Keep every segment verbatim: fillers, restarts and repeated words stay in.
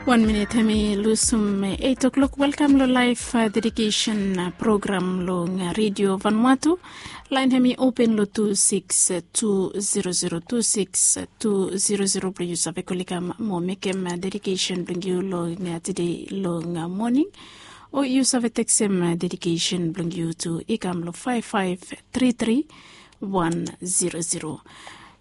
Wan minit hemi lusum eight o'clock. Welkam long laif dedikesen program long redio Vanuatu. Lain hemi open long tu siks tu zero zero tu siks tu zero zero blong yu save kol i kam mo mekem dedikesen blong yu long tede long moning. O yu save teksem dedikesen blong yu tu i kam long faef faef tri tri wan zero zero.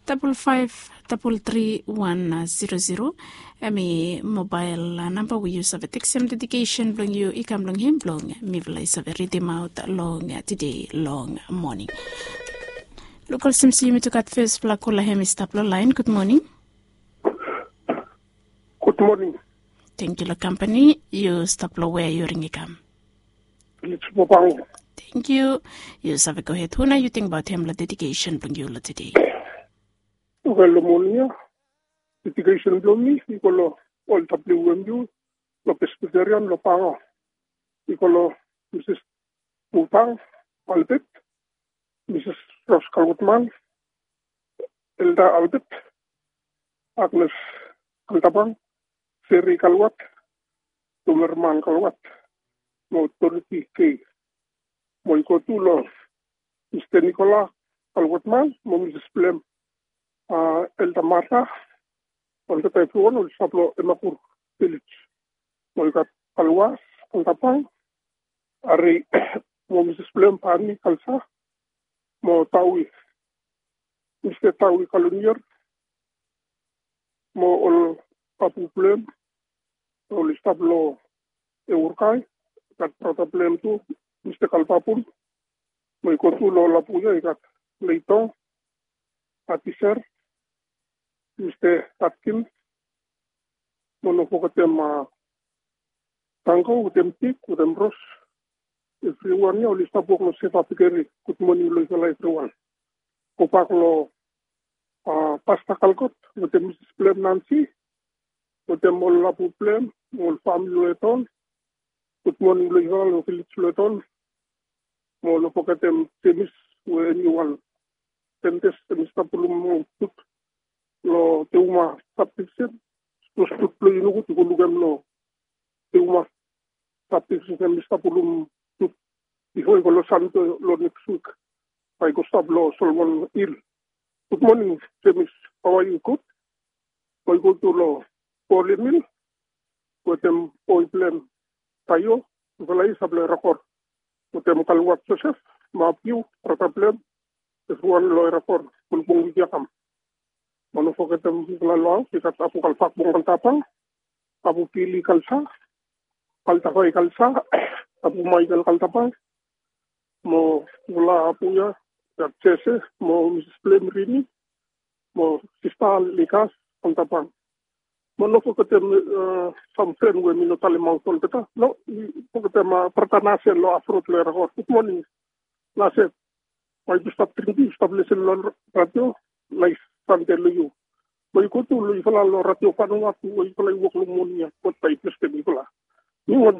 Dabol faef dabol tri wan zero zero. Hemi mobael namba we yu save teksem dedikesen blong yu i kam long hem blong mifala i save ridimaot long tede long moning. Luk olsem se yumi tu gat fesfala kola hemi stap long lain. Gud moning. Gud moning. Tengkiu long kampani. Yu stap long wea yu ring i kam? Village Bobang. Tengkiu. Yu save gohed. Hu nao yu tingbaot hem long dedikesen blong yu long tede? Oke, long moning ya dedikesen blong mi i go long ol W M U long Presbyterian long Banga. I go long Misis Bubang Albert, Misis Ros Kalgotman, Elda Albert, Agnes Kaltabang, Seri Kalwat, Tumerman Kalwat, mo Dorothy K. Mo i go tu long Mista Nikola Kalwatman mo Misis Blem, Elda Marta, olgeta evriwan oli stap long Emakur Vilis. Mo i gat Kalwas Kaltabang, Ari mo Misis Blem, Pani Kalsa, mo Tawi, Mista Tawi Kalonier, mo ol babu blem oli stap long Eurkai. I gat brata blem tu, Mista Kalbabun. Mo i go tu long lapu ya i gat Leitong, Atiser, Mista Atkins, mo no fogetem Tango wetem Tik wetem Ros. Evriwan ya oli stap wok long Seva Bekeri. Gud moning long yufala evriwan. Gobak long Pasta Kalkot wetem Misis Blem Nansi wetem ol lapu blem, ol famili long Eton. Gud moning long yufala long Vilis long Eton. Mo no fogetem Jemis we hemi wan Sentes hemi stap pulum tut long Teuma Sabdivisen. Sapos tut blong yu nogud yu go lukim long Teuma Sabdivisen hemi stap pulum tut bifo i go long Sande long neks wik. Bae i go stap long Solomon Hil. Gud moning Jemis. Hao a yu? Gud. Bae i go tu long Paul Emil wetem boi blem Taio, yufala i stap long Erakor, wetem Kalwat Josef, Mapiu brata blem, evriwan long Erakor, bulbung wik ya kam. Mo no fogetem yufala long haos, i gat Abu Kalfak Bong Kaltabang, Abu Pili Kalsa, Kaltafai Kalsa, Abu Maikal Kaltabang, mo ol abu ya i gat Jese mo Misis Blem Rini, mo sista Likas Kaltabang. Mo no fogetem sam fren we mi no talemaot olgeta. No, mi fogetem brata Nasen long Afrod long Erakor. Gud moning Nasen. Bae yu stap dring, yu stap lesen long radio. Naes Sande long yu. Bae yu go tu long yufala long Radio Vanuatu we yufala i wok long moning ya. God bae i blesem yufala. Mi wan